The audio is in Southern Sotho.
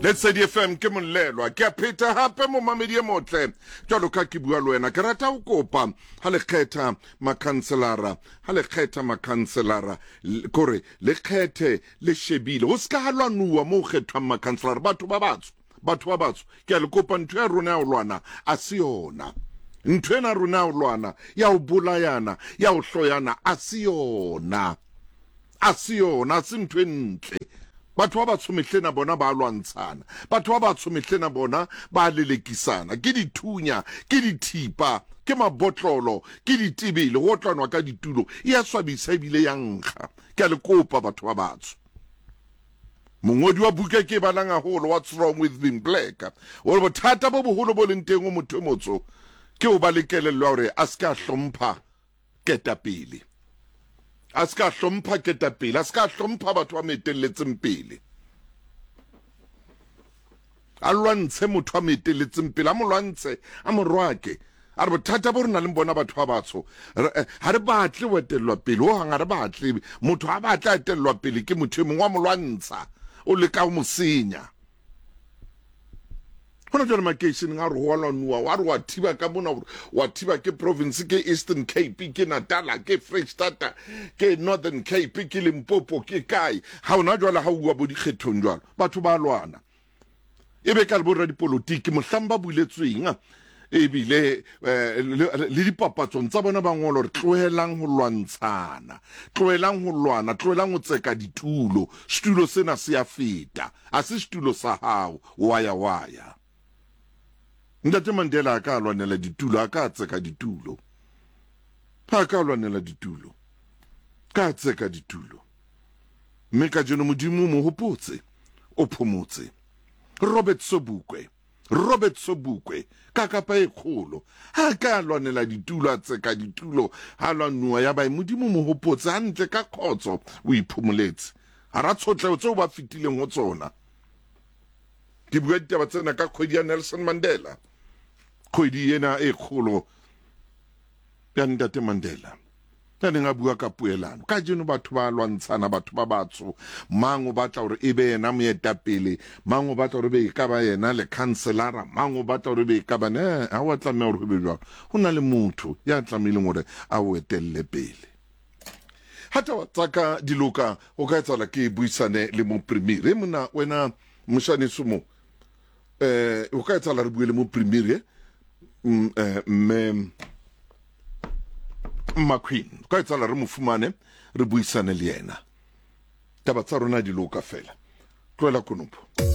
Lesedi FM ke molelwa ke a pheta hape momamedi e motle jwalo ka ke bua le wena ke rata ho kopa ha le kgetha makhanselara ha le kgetha makhanselara kore le kgethe le shebile ho se ka ha lwanuwa mo ho kgethwang makhanselara batho ba batsho batho ba batsho ke a le kopa ntho ya rona ya ho lwana a se yona ntho ena rona ya ho lwana ya ho bolayana ya ho hloyana a se yona A se yona, a se ntho e ntle. Batho ba batsho mehlena bona ba lwantshana. Batho ba batsho mehlena bona ba lelekisana. Ke dithunya, ke dithipa, ke mabotlolo, ke ditebele, ho otlanwa ka ditulo. E a swabisa ebile ya nkga. Ke a le kopa batho ba batsho. Mongodi wa buka e ke e balang haholo, What's Wrong With Being Black, o re bothata bo boholo bo leng teng ho motho e motsho ke ho ba le kelello ya hore a se ke a hlompha ketapele. A se ka hlompha ketapele, a se ka hlompha batho ba mo etelletseng pele. A lwantshe motho a mo etelletseng pele, a mo lwantshe, a mo rwake. A re bothata bo re nang le bona batho ba batsho, eh, ha re batle ho etellwa pele ho hang, ha re batle motho a batla etellwa pele ke motho e mongwe wa mo lwantsha, o leka ho mo senya. Gona jwale makeisheneng a re go a lwanuwa, wa re wa thiba ka mona, wa thiba ke province, ke Eastern Cape, ke Natala, ke Freistata, ke Northern Cape, ke Limpopo, ke kae. Ga ona jwale ga uwa bo dikgethong jwalo, batho ba lwana. E be ka le boradipolotiki mohlang ba buletsweng ebile eh, le dipapatsong tsa bona ba ngola gore tlohelang ho lwantshana, tlohelang ho lwana, tlohelang ho tseka ditulo, setulo sena se a feta, a se setulo sa hao. Waya waya. Ntate Mandela a ka lwanela ditulo, a ka tseka ditulo. A ka lwanela ditulo. Ka tseka ditulo. Mme kajeno Modimo o mo hopotse, o phomotse. Robert Sobukwe, Robert Sobukwe, ka kapa e kgolo. Ha ka lwanela ditulo, a tseka ditulo, ha lwanuwa ya ba Modimo mo hopotse hantle ka khotso, o iphomoletse. Hara tshotleho tseo ba fetileng ho tsona. Ke bua ditaba tsena ka kgwedi ya Nelson Mandela, kgwedi ena e kgolo ya Ntate Mandela ya neng a bua ka poelano. Kajeno batho ba lwantshana, batho ba batsho, mang o batla hore e be yena moetapele, mang o batla hore be e ka ba yena lekhanselara, mang o batla hore be e ka ba ne. Ha wa tlameha hore ho be jwalo. Ho na le motho ya tlamehileng hore a o etelle pele. Ha taba tsa ka di loka, ho ka etsahala ke buisane le moprimiri. Monna wena moshaneso mo, eh ho ka etsahala re bue le moprimiri eh, mm, eh, mme McQueen. Ho ka etsahala re mo fumane re buisane le yena. Taba tsa rona di loka fela. Tlohela konopo.